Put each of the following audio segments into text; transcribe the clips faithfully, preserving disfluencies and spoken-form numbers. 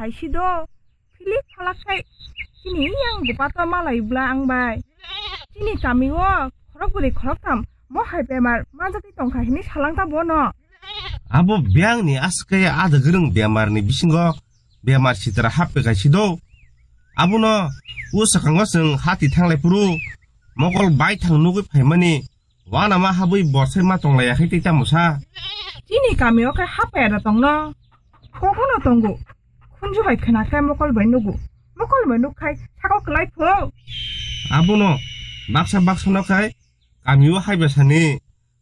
Ai si do, philip phalak khai, chini yang bupa to malai bla ang bai. Chini kami o khorok bwrwi khorok tham mo hai bemar manjak tongkha hini salang ta bono. Abo biyang ni aswk khe adagwrwng bemar ni bisingo bemar sitra hap pekai si do. Abono o swkango chwng hati thanglai phuru mokol baithang nugwi phaimani. Wana ma habwi borsai ma tonglaiya khai tei tamo sa? Chini kami o khe hapaya da tongno. Kokono tongo. Khunju bai khna khai mokol bai nugo. Mokol bai nuk khai sako klai pho. Abono baksa baksa no khai kami o haiba sani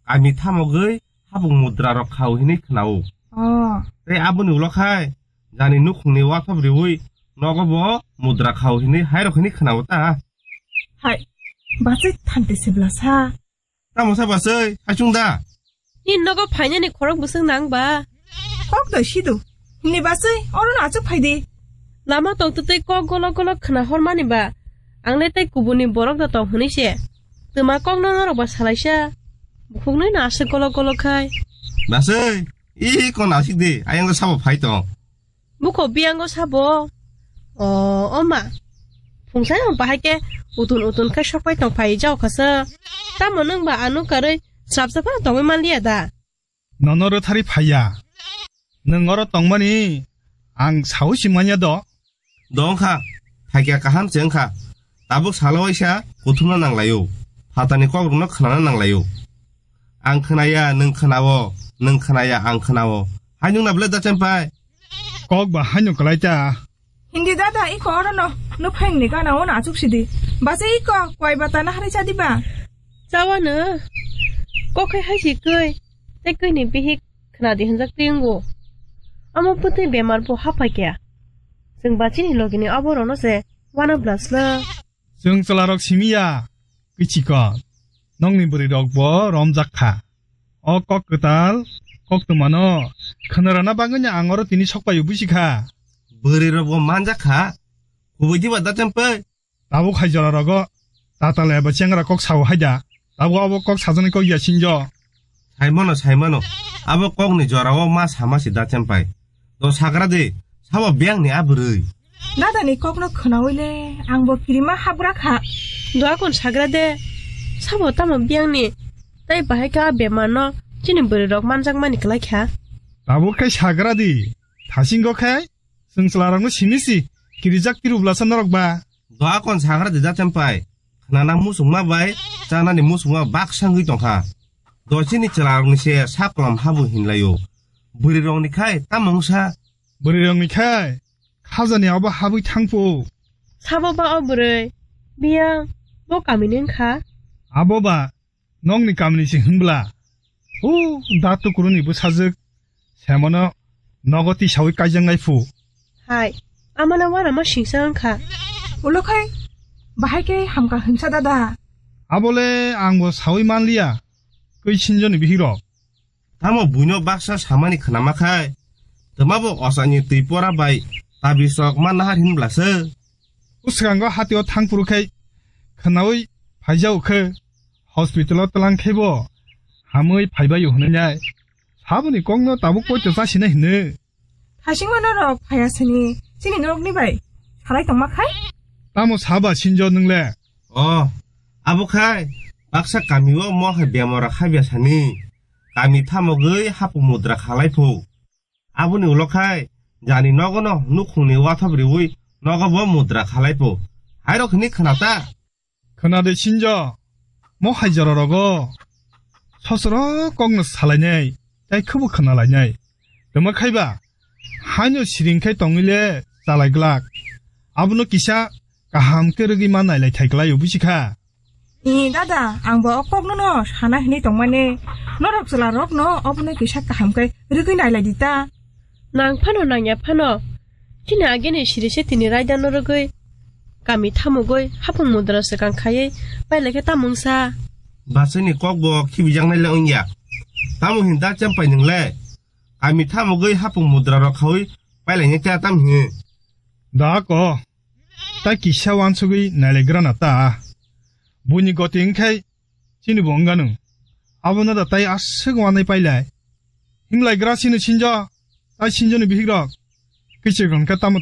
kami thamogwi hapung mudra rok khao hinwi khnao. Oh. Tei aboni ulo khai jani nukhungni wathop riwi nogo bo mudra khao hinwi hairok hinwi khnao ta. Hai. Bachai thante se bla sa. Tamo sa bachai, haichung da? Ni nogo phainani khorok bwswk nang ba? Kok doi sidu. Ni bachai, oro no achuk phai di. Lama tong tei kok golok golok khna hormani ba. Ang le tei kubuni borok da tong hwnwi se. Twma kok no norok ba salaisa. Bukhuk nui no aswk golok golok khai. Bachai, i kon asik di, ayang sabo phai tong. Bukho biyango sabo. O, o ma. Phungsai ang bahai khe utun utun khe sokpai tong phai jao khasa. Tamo nwng ba ano karwi srapsa phano tongwi manliya da? Nono rwthari phaiya. Nwng oro tongmani ang saui si manya do. Dong kha. Phaikya kaham se wngkha. Tabuk salo waisa kuthumna nanglaio. Phatani kokrokno khnana nanglaio. Ang khnaya, nwng khnao, nwng khnaya, ang khnao. Hai nwng na belai da chempai? Kok ba haino kwlai ta. Hindi dada, iko oro no, no pheng ni gana o na achuk sidi. Base iko, kwai bata na hari chadi ba? Chawa no, kok hai hai si koi, tei koi ni bihik khna di hanjak ti wngo. Amo putui bemar bo hapai kya. Chwng ba chini logi ni abo rono se, wana blas na. Chwng chwlarok simi ya, kichiko. Nokni bwrwirok bo romjak kha. O kok kwtal, kok twmano khwnarana bagwino ang oro tini sokpaio busi kha. Bwrwirok bo manjak kha. Kubui diba da chempai? Tabuk hai jora rogo tatal eba chengra kok sao haida. Tabuk abo kok sajani kok ya sinjo. Saimano, saimano. Abo kokni jorao ma sama si da chempai. Do sagra de, sabo biyang ni abrui. Dada ni kokno khnaui le, ang bo kirima habra kha. Doa kon sagra de, sabo tamo biyang ni. Tai bahai kha bemar no, chini bwrwi rok manjak mani kwlai kha. Tabuk khai sagra di, thasingo khai, chwng chwla rok no simi si, kirijak tiru blasa norok ba. Doa kon sagra de da chempai. Khnana muchungma bai chanani muchungma baksa wngwi tongkha. Dochini chwlarokni se saklam habu hinlaio. Bwrwirokni khai tamo wngsa? Bwrwirokni khai khajani abo habwi thangphu. Sabo ba o bwrwi? Biyang bo kamini wngkha? Abo ba nokni kamini se hwnbla? O da tukuruni bwsajwk Semano nogo tisaui kaijaknai phu. Hai, amano uanama singsa wngkha. Ulo khai, bahai khe hamkha hwnsa dada. Abole angbo saui manliya, kwi sinjoni bihikrok. Tamo buino baksa samani khnama khai, twmabo osani twi pora bai tabisrok ma nahar hinblasa. Bwskango hatio thangphuru khai khnaui phaijao khe, hospitalo tlang khebo hamui phaibaio hwnwi nai. Saboni kokno tabuk poito chasina hino. Thasingma norok phaya sini, chini norokni bai salai tongma khai? Tamo saba sinjo nwngle? O, abo khai, baksa kamio mo hai bemar khabya sani. Kami thamogwi hapung mudra khalai phu. Aboni ulo khai, jani nogono nukhungni wathop riui nogo bo mudra khalai phu. Hairok hini khna ta? Khna de sinjo, mo hai jora rogo. Sosoro kokno salainai, tai khubu khna lainai. Tamo khaiba, haino siring khai tongwile chalai glak. Abono kisa kaham khe rwgwi ma nailai thai klai o busi kha. Ee, dada, ang bo o kokno no sana hinwi tongmani. Norok chwla rok no obono kisa kaham khe rwgwi nailai di ta. Nang phano nangya phano. Chini agini siri se tini raida no rwgwi. Kami thamugwi hapung mudra swkang khaiwi pailai khe tamo wngsa. Bachai ni kok bo khibijaknai le wngya. Tamo hin da chempai nwngle? Kami thamugwi hapung mudra rok khaui pailai ni ta tam hin. Da ko. Ta kisa wansugwi nailaigrana ta. Buini goti wngkhai chini bo wngano. Abono da tai aswk wanai pailai. Hinglaigra sino sinjo, tai sinjoni bihikrok. Kichir hwnkhe tamo